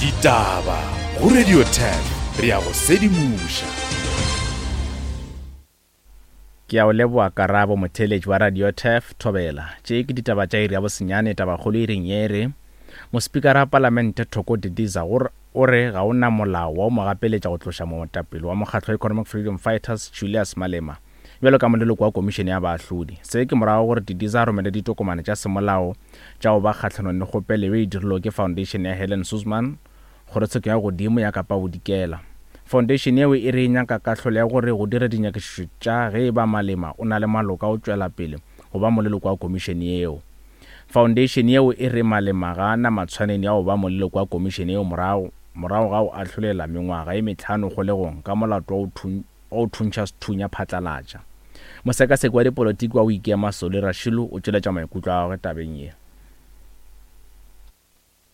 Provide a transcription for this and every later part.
Ditaba go Radio 10 re a go sedimoša. Ke a o leboa Karabo, motheeletši wa Radio Turf, Thobela. Tše ke ditaba tša iri ya bosenyane, tabakgolo iring ye e re, Mospikara wa Palamente Thoko Didiza o o re ga o na molao wa go mo gapeletša go tloša moetapele wa mokgatlo wa Economic Freedom Fighters Julius Malema bjalo ka moleloko wa komišene ya baahlodi. Se ke morago gore Didiza a romele ditokomane tša semolao tša go ba kgahlanong le kgopelo yeo e dirilwego ke Foundation ya Helen Suzman Kgorotsheko ya Godimo ya Kapa Bodikela. Foundation yeo e re e nyaka kahlolo ya gore go dire dinyakišišo tša ge e ba Malema o na le maloka a go tšwela pele go ba moleloko wa komišene yeo. Foundation yeo e re Malema ga a na matshwanedi a go ba moleloko wa komišene yeo morago morago ga go ahlolela mengwaga ye mehlano kgolegong ka molato wa go wa go thuntšha sethunya phatlalatša. Mosekaseki wa dipolotiki wa go ikema Solly Rashilu o tšweletša maikutlo a gagwe tabeng ye.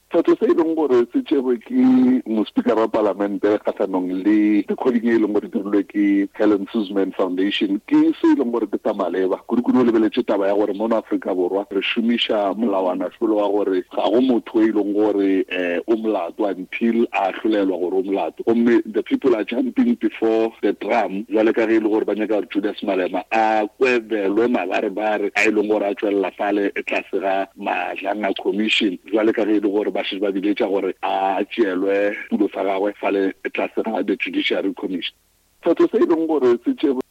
Sephetho se e leng gore se tšerwe ke mospikara wa palamente kgahlanong le recording e leng gore dirilwe ke Helen Suzman Foundation ke se e leng gore ke sa maleba, kudu-kudu o lebeletše taba ya gore mono Afrika Borwa re šomiša molawanahlolo wa gore ga go motho e leng gore o molato until a ahlolelwa gore o molato, gomme the people are jumping before the drum bjale ka ge e le gore ba nyaka gore Julius Malema a kwebelwe mabarebare a e leng gore a tšwelela fale tlase ga Madlanga Commission bjale ka ge e le gore ba šetše ba biletša gore a tšeelwe setulo sa gagwe fale tlase ga the Judiciary Commission. Sephetho se e leng gore se tšerwe.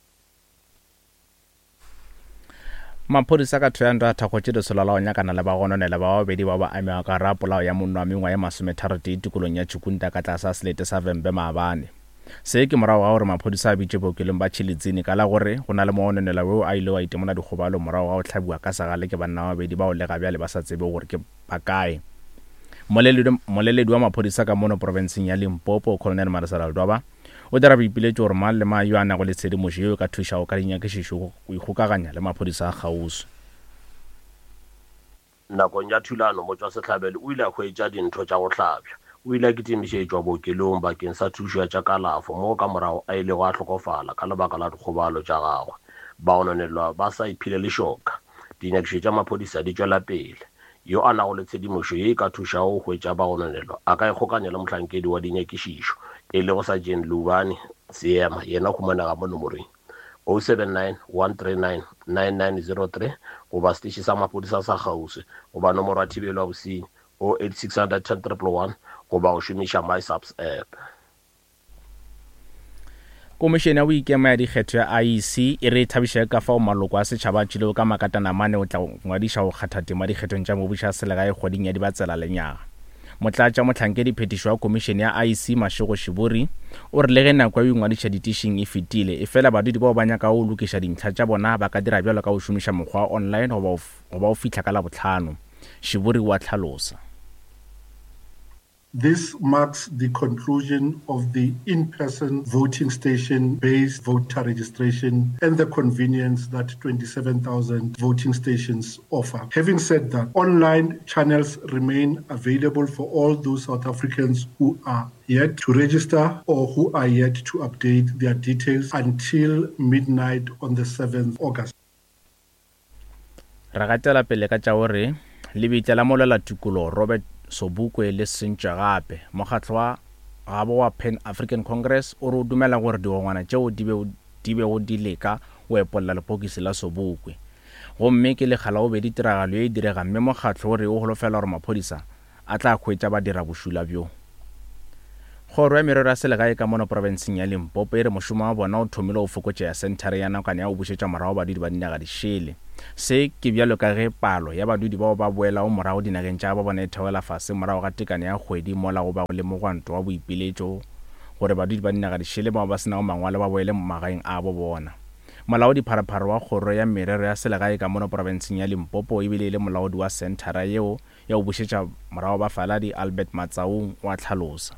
Maphodisa ka Thohoyandou a thakgotše lesolo la go nyakana le bagononelwa ba babedi bao ba amegago ka gare ga polao ya monna wa mengwaga ye masometharotee tikolong ya Tshikunda ka tlase ga selete sa Vhembe maabane. Se ke morago ga gore maphodisa a bitše bookelong ba Tshilidzini ka la gore go na le mogononelwa yoo a ilego a itemola dikgobalo morago ga go hlabiwa ka segale ke banna ba babedi bao le ga bjale ba sa tsebego gore ke ba kae. Mmoleledi wa maphodisa ka mono profenseng ya Limpopo, Colonel Malesela Ledwaba, o dira boipiletšo gore mang le mang yo a nago le tshedimošo yeo e ka thušago ka dinyakišišo go ikgokaganya le maphodisa a kgauswi. Nakong ya thulano, motšwasehlabelo o ile a hwetša dintho tša go hlabja. O ile a kitimišetšwa bookelong bakeng sa thušo ya tša kalafo moo ka morago a ilego a hlokofala ka lebaka la dikgobalo tša gagwe. Bagononelwa ba sa iphile lešoka. Dinyakišišo tša maphodisa di tšwela pele. Yo a nago le tshedimošo ye e ka thušago go hwetša bagononelwa a ka ikgokanya le mohlankedi wa dinyakišišo, e lego Sergeant Lubani Seema, yena o humanega mo nomoreng 079 139 9903 goba seteše sa maphodisa sa kgauswi goba nomoro ya thibelo ya bosenyi 08600 10 111 goba go šomiša MySAPS app. Komišene ya Boikemo ya Dikgetho ya IEC e re e thabiša ke ka fao maloko a setšhaba a tšwilego ka makatanamane go tla go ngwadiša go kgatha tema dikgethong tša mebušo ya selegae kgweding ya Dibatsela lenyaga. Motlatša mohlankedi phethišo wa komišene ya IEC Mashego Shiburi o re le ge nako ya go ingwadiša ditišing e fetile, efela badudi bao ba nyakago go lokiša dintlha tša bona ba ka dira bjalo ka go šomiša mokgwa wa online goba go fihla ka Labohlano. Shiburi o a hlalosa. This marks the conclusion of the in-person voting station-based voter registration and the convenience that 27,000 voting stations offer. Having said that, online channels remain available for all those South Africans who are yet to register or who are yet to update their details until midnight on the 7th August. Re gatela pele ka tša gore lebitla la molwelatikologo Robert Sobukwe le sentšwe gape. Mokgatlo wa gabo wa Pan African Congress o re o dumela gore digongwana tšeo di be di bego di leka go epolla lepokisi la Sobukwe. Gomme ke lekga la bobedi tiragalo ye e direga mme mokgatlo o re o holofela gore maphodisa a tla hwetša badirabošula bjo. Kgoro ya Merero ya Selegae ka mono profenseng ya Limpopo e re mošomo wa bona o thomile go fokotšega senthare ya nakwana ya go bušetša morago badudi ba dinaga dišele. Se ke bjalo ka ge palo ya badudi bao ba boelago morago dinageng tša gabo bona e theogela fase morago ga tekano ya kgwedi mola go bago le mogwanto wa boipiletšo gore badudi ba dinaga dišele bao ba se nago mangwalo ba boele magaeng a bo bona. Molaodipharephare wa Kgoro ya Merero ya Selegae ka mono profenseng ya Limpopo ebile e le molaodi wa senthara yeo ya go bušetša morago bafaladi, Albert Matsaung o a hlalosa.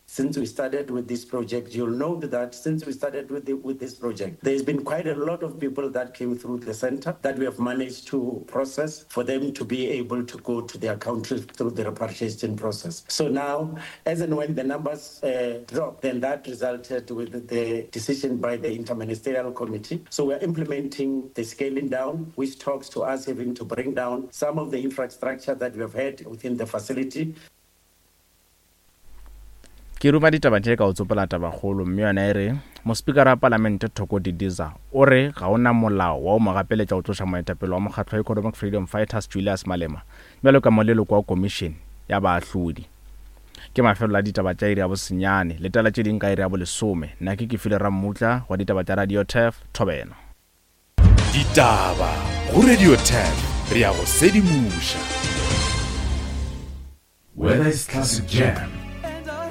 Since we started with this project, you'll note that since we started with, the, with this project, there's been quite a lot of people that came through the center that we have managed to process for them to be able to go to their country through the repatriation process. So now, as and when the numbers uh, dropped, then that resulted with the decision by the interministerial committee. So we're implementing the scaling down, which talks to us having to bring down some of the infrastructure that we have had within the facility. Ke ruma ditaba tše ka go tsopola tabakgolo mme yona e re, Mospikara wa Palamente Thoko Didiza o re ga o na molao wa go mo gapeletša go tloša moetapele wa mokgatlo wa Economic Freedom Fighters Julius Malema bjalo ka moleloko wa komišene ya baahlodi. Ke mafelelo a ditaba tša iri ya bosenyane. Letela tše ding ka iri ya bolesome. Nna ke Kefilwe Rammutla wa ditaba tša Radio Turf, Thobela. Ditaba go Radio Turf, re a go sedimoša. Whether it's classic jam.